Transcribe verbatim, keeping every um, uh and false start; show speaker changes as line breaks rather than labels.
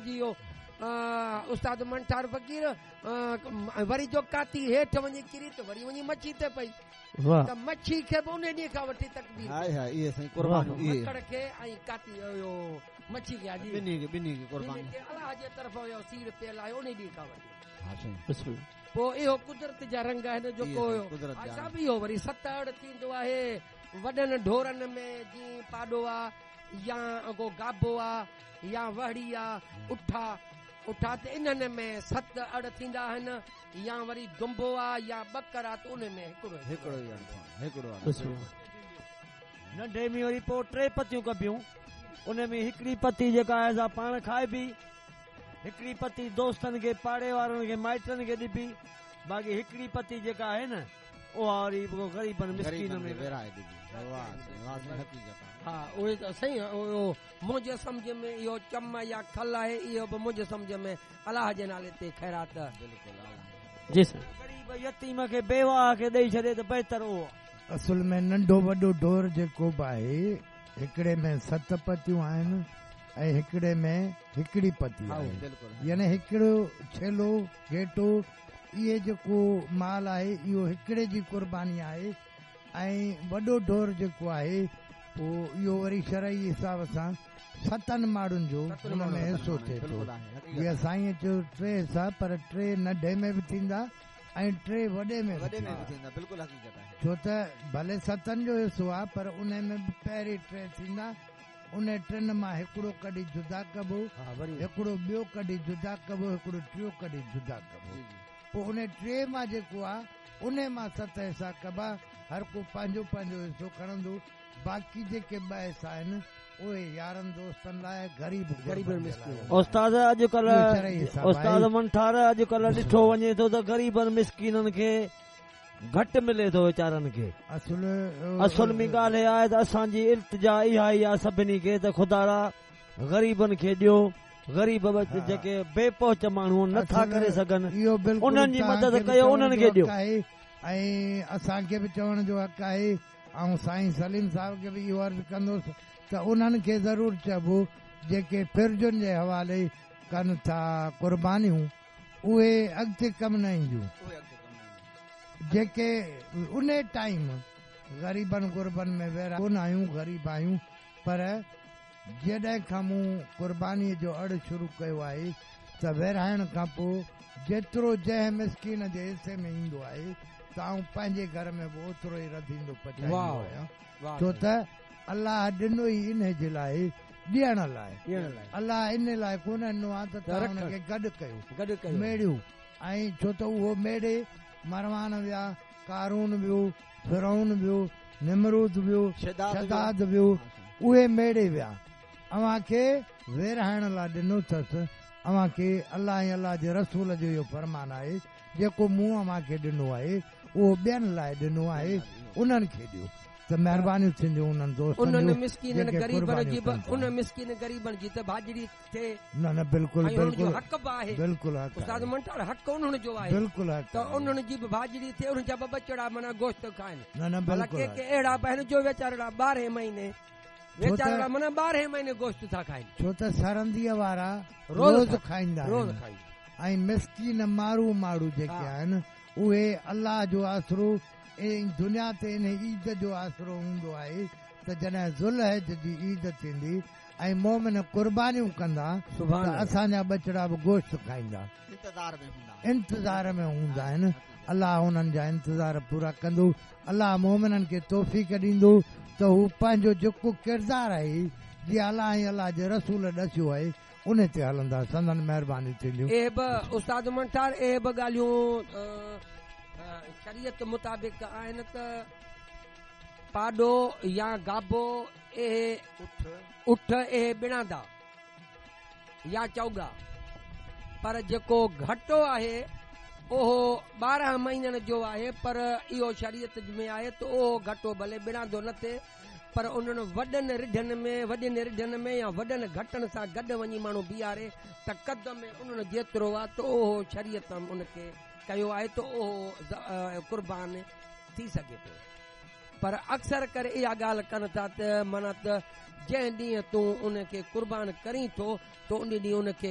جي اهو استاد منٺار فقير وري جو ڪاتي هيٺ وڃي ڪري ته وري وڃي مڇي تي پئي ته مڇي کي به ان ڏينهن کان وٺي تڪبير
هاءِ هاءِ اهي سائين قربان اهي
مڪڙ کي ۽ ڪاتي اهو مڇي کي حاجي
ٻنهي کي ٻنهي کي قربان
الله جي طرف اهو سير پيل آهي ان ڏينهن کان وٺي
ها سائين
بسم الله
پوءِ اهو قدرت جا رنگ آهن جيڪو هيو صاحب اهو وري ست اڙ ٿيندو آهي وڏن ڍورن ۾ جيئن پاڏو آهي يا ڪو گابو آهي يا وهڙي آهي اٺ آهي اٺ آهي ته انهن ۾ ست اڙ ٿيندا آهن يا وري دنبو آهي يا ٻڪر آهي ته ان ۾ هڪڙو
هڪڙو هڪڙو
ننڍي ۾ وري پوءِ ٽي پتيون ڪبيون ان ۾ هڪڙي پتي جيڪا آهي سا پاڻ کائبي هڪڙي پتي دوستن کي پاڙي وارن کي مائٽن کي ڏبي باقي هڪڙي پتي جيڪا آهي نه اها وري غريبن مسڪين ۾
ورهائي ڏبي.
ها اهي ته صحيح اهو منهنجي سمجهه ۾ اهو چم يا کل آهي اهو به منهنجي سمجهه ۾ الله جي نالي تي خيرات
بلڪل
جي سائين
غريب يتيم کي بيواهه کي ڏيئي ڇڏي ته بهتر اهو.
اصل ۾ ننڍو وڏو ڍور جيڪو به آهي هڪڙي ۾ ست پتيون آهن ۽ هڪڙي ۾ هڪڙي پتي آهي يعني هڪڙو ڇيلو گهيٽو اهي جيڪو مال آهي اهو هڪڙي جي قرباني آهي ۽ وڏو ڍور جيڪو آهي پوءِ اهو وري شرعي حساب سان ستن ماڻهن جو هن ۾ حصو ٿئي ٿو. جيئن سائين چيو ٽي حصا پر ٽي ننڍي ۾ به ٿيندا ۽ ٽي وڏي ۾ به ٿيندا. ڇو ته ڀلي ستن جو حصو آهي پر ان ۾ به پهرين ٽي ٿيندا ان ٽن مان هڪڙو ڪڍي جدا ڪبو هڪڙو ٻيو ڪڍي جدا ڪبو هڪڙو ٽيون ڪڍي جدا ڪبو پوءِ ان ٽي مان جيڪو آهي ان مان ست حصا ڪبا هر ڪو پنهنجو پنهنجو حصو کڻندو باقي جيڪي ٻه حصا آهن اهي يارن دوستن لاءِ غريب
غريب
استاد اڄڪلهه استاد منٺار اڄڪلهه ڏٺو وڃي ٿو ته غريبن مسڪينن کي گهٽ ملي ٿو ويچارن کي.
اصل
اصل ۾ ڳالهه اها آهي ته اسان جي التجا اها ئي آهي سڀني کي ته خدارا غريبن کي ڏيو غريب جيڪي بي پهچ ماڻهو نٿا ڪري سگهن انهن جي مدد ڪيو انهن کي ڏيو.
۽ اسان کي به چوڻ جو حق آهي ۽ سائين سليم صاحب کي به اهو عرض ڪندس ته انهن کي ضرور چئبو جيڪي فرجن جي حوالي ڪن ٿا قربانيون اهي اڳتي ڪم نه اينديون جيڪي ان ٽائيم غريبن غربن ۾ ويرا ڪونه آهيون غريب آهيون پر جڏهن کان مون قربانيءَ جو اڙ شروع ڪيو آهي ته ورهائڻ کان پوءِ جيترو جنهن مسڪين جي حصي ۾ ايندو آهي ته آئون پنهنجي گهر ۾ به اوترو ئي رڌيندو پچائيندو آهيان. ڇو ته الله ڏنو ئي ان جي لاءِ ڏيڻ لاءِ الله ان لاءِ ڪونه ڏنو آهي ته توهان هن کي گڏ ڪيو
گڏ ڪيو
ميڙيو ۽ ڇو ته اهو ميڙي مروان ويا ڪارون ويو فرعون ويو نمرود ويو شداد ويو اهي ميڙي ويا. اوهان کي ورهائڻ لاءِ ڏنو اٿس. اوهان کي الله ۽ الله جي رسول جو اهو فرمان آهي جيڪو مون اوهان کي ڏنو آهي اهو ٻين لاءِ ڏنو آهي انهن کي ڏيو ته مهربانيون ٿينديون انهن دوستن
انهن مسڪينن غريبن جي به ان مسڪين غريبن جي ته ڀاڄڙي ٿئي
نه نه بلڪل بلڪل
حق به آهي
بلڪل حق
استاد منٺار حق انهن جو آهي
بلڪل حق
ته انهن جي به ڀاڄڙي ٿئي انهن جا به ٻچڙا معنيٰ گوشت کائن
نه نه بلڪل
ڪي ڪي اهڙا به آهن جو ويچارا ٻارهين مهيني ويچارا معنيٰ ٻارهين مهيني گوشت ٿا کائن
ڇو ته سرنديءَ وارا روز کائيندا
روز کائيندا
۽ مسڪين ماڻهو ماڻهو جيڪي آهن اهي الله جو آسرو ۽ دنيا تي ان عيد جو آسرو هوندو آهي ته جڏهن ذوالحج جي عيد ٿيندي ۽ مومن قربانيون ڪندا ته اسان جا ٻچڙا به گوشت کائيندا انتظار ۾ هوندا آهن. الله انهن جا انتظار پورا ڪندو. الله مومنن کي توفيق ڏيندو ته هو پنهنجو جيڪو ڪردار آهي جيئن الله ۽ الله جي رسول ڏسيو آهي ان تي هلندا سندن مهرباني ٿينديون.
اهي به استاد منٺار اهي به ڳالهيون شريعت مطابق آهن ته پاڏو يا گابو اهي اٺ اهي ٻڻاندا يا چوڳا پر جيڪو گهٽو آهي اهو ٻارهن مهينن جو آهي پر اهو شريعت ۾ آهي ته اهو گهٽو ڀلي ٻڻاندو نه ٿئي پر انهن وڏن رڍن ۾ وڏين رڍن ۾ يا وڏن گهٽن سان گڏ وڃي ماڻهو بيهاري ته قد ۾ انهن جيترو آهي ته اهو شريعت ان کي ڪيو آهي ته اهو قربان ٿي سگهي ٿو. پر اڪثر ڪري اها ڳالهه ڪن ٿا ته معنيٰ ته جنهن ڏينهن تون ان کي قربان ڪرين ٿو ته ان ڏينهن ان کي